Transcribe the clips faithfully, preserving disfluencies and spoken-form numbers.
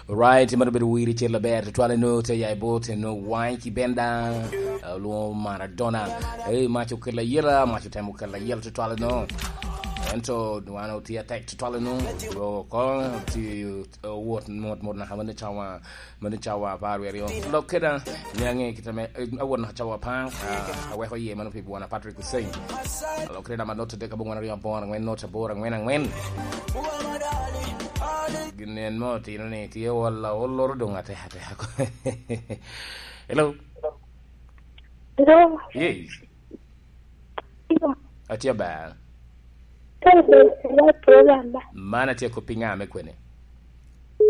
Right, mano bedo wir icel aber tutwal eno te ya i bot eno wany ki benda, eh, olwoŋo Maradona. Eh, mac okelo ayela, mac otemo kelo ayela tutwal eno. Ento wan otye atek tutwal eno. Ro ko ti, eh, wot mot mot naka mano cawa, mano cawa apar wi aryo. Lok keda, ni ange kita me, eh, awot naka cawa apar, ah, aweko iye mano pi bwana Patrick Hussein. Lok keda ma not adek abongwana aryo abor angwen not abor angwen angwen. Gin en mo otino ni tye ol, ol loro doŋ atek atek. Hello? Hello? Yes. Hello? Atye aber. Hello, hello, program ba. Man atye kop i ŋa me kwene?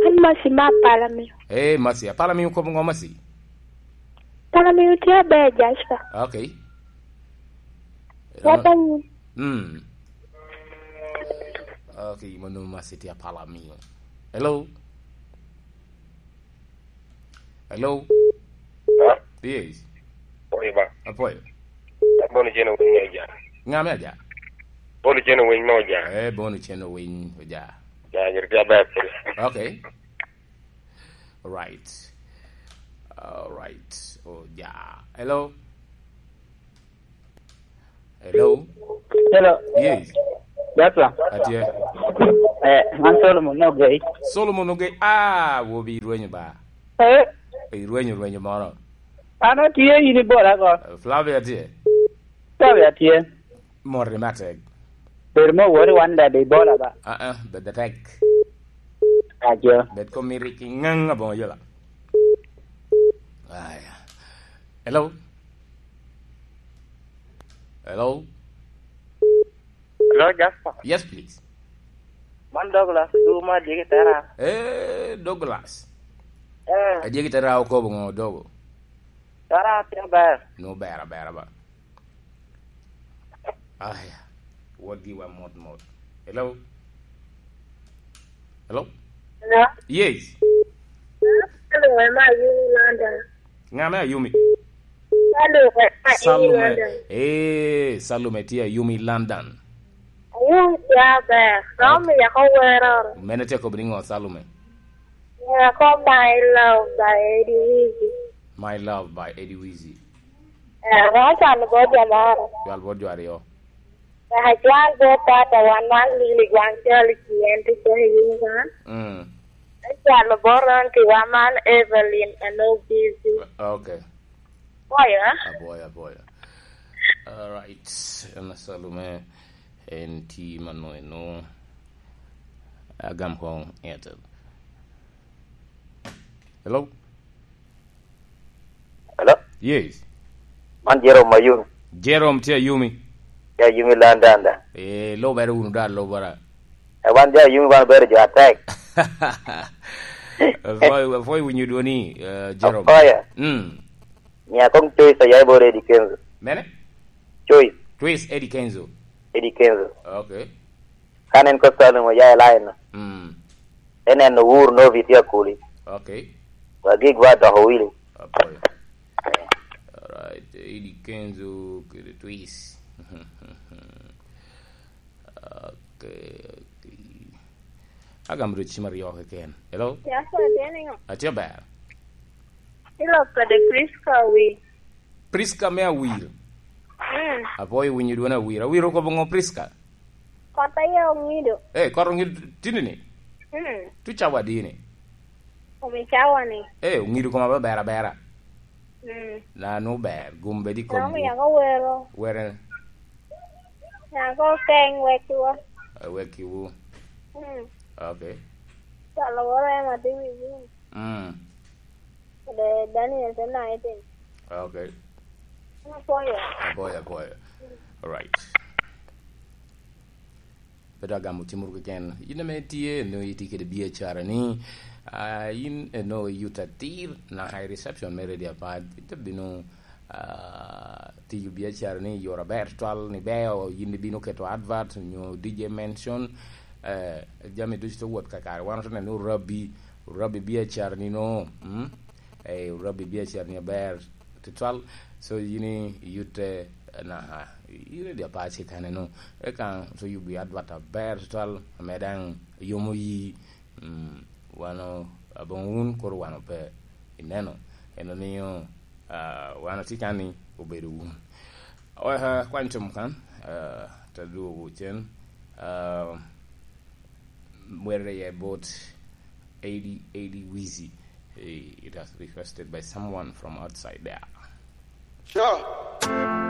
An Masi ma Apala miyo. Eh, Masi, Apala miyo kop ŋo Masi? Apala miyo tye aber, Jasper. Okay. Wata nyi. Mm. Okay, mano Masi tye Apala miyo. Hello? Hello? Ha? Yes. Oye ba. Apoyo. Bono cen owiny oja. Ŋa me aja? Bono cen owiny me oja. Eh, bono cen owiny oja. Ja, jere tye aber. Okay. All right. All right. Oja. Hello? Hello? Hello. Yes. Joshua. Atye. Eh, man Solomon Ogei. Solomon Ogei. Ah, wobi irwenyo ba. Eh? Irwenyo, rwenyo moro. An atye, in ibola ko. Eh, Flavia tye. Flavia tye. Mori matek. Bedo mo wori wan dada ibola ba. Ah, ah, bed atek. Ajo. Bed kom iri ki ŋaŋ aboŋo yola. Aya. Hello? Hello? Hello, Jasper. Yes, please. Man Douglas, du ma Adyegi Tera. Eh, Douglas. Eh. Adyegi Tera okobo ŋo, Dogo? Tera tye aber. No, ber, aber, aber. Aya. Wot giwa mot, mot. Hello? Hello? Hello? Yes. Hello, am I in London? Ŋa me Ayumi? Salume, Salume. Ee, Salume tye Ayumi London. Ayumi tye aber. Dok omiyo ko wero. Mene tye kobo ni ŋo, Salume? Ko My Love by Eddie Wizzy. My Love by Eddie Wizzy. Eh, wan cwalo bot jo moro. Cwal bot jo aryo. Acwal bot tata wan man Lili Gwang Cali Kien tye kene i England. Mm. Acwalo bot Ronti wa man Evelyn Anobisi. Okay. Boyo, eh? Aboyo, aboyo. All right. En Salume, en ti mano eno. Agam kong Airtel. Hello? Hello? Yes. Man Jerome Ayumi. Jerome tye Ayumi. Tye Ayumi London da. Eh, lubere wunu da, lubere. Eh, wan jo Ayumi wan obedo jo atek. Apwoyo, apwoyo winyo dwoni, eh, Jerome. Apwoyo. Mm. Mia kong Choice oya i bor Eddie Kenzo. Mene? Choice. Choice Eddie Kenzo. Eddie Kenzo. Okay. Kan en kop Salume oya i line. Mm. En en Uhuru Novi tye akuli. Okay. Wa gig wa doko wili. Apoyo. Alright, Eddie Kenzo kede Twist. Okay, okay. Agamo dwe cim aryo keken. Hello? Yako atye niŋo? Atye ber. Ilok kede Prisca Awir. Prisca me Awir. Mm. Apwoyo winyo dwon Awir. Awir okobo ŋo Prisca? Kot aye oŋido. Eh, kot oŋido tini ni? Mm. Tu cawa dini? Omi cawa ni. Eh, oŋido koma ber abera. Mm. Na nu ber, gum bed i komwu. Dong yako wero. Were. Yako keng wekkiwa. Eh, wekkiwu. Mm. Okay. Calo woro ema dhi wi win. Mm. Kede Daniel te na ete. Okay. Apwoyo. Apwoyo, apwoyo. All right. Pe dok agamo cim wunu keken. In ame itye, nongo itye kede biacara ni, ah, in, eh, nongo iyuto atir, naka i reception me Radio Apar, ite bino, ah, tiyo biacara ni i yore aber tutwal, ni beo, in ibino keto advert, nyo D J mention, eh, jami ducu te wot kakare. Wan ote neno ni orabbi, orabbi biacara ni no, mm? Eh, orabbi biacara ni aber tutwal. So, yin i-, iyutte, eh, naka, i Radio Apar ci kane no. Eka, so yubi advert aber tutwal, ame daŋ yomo yi, mm, Wan o-, aboŋo wun, koro wan ope. Ineno? En omio, ah, wan otye kan ni obedo wun. Oya, kwany com kan, ah, te dwogo cen, ah, where they about eighty, eighty Wizzy. Eh, it has requested by someone from outside there. Sure.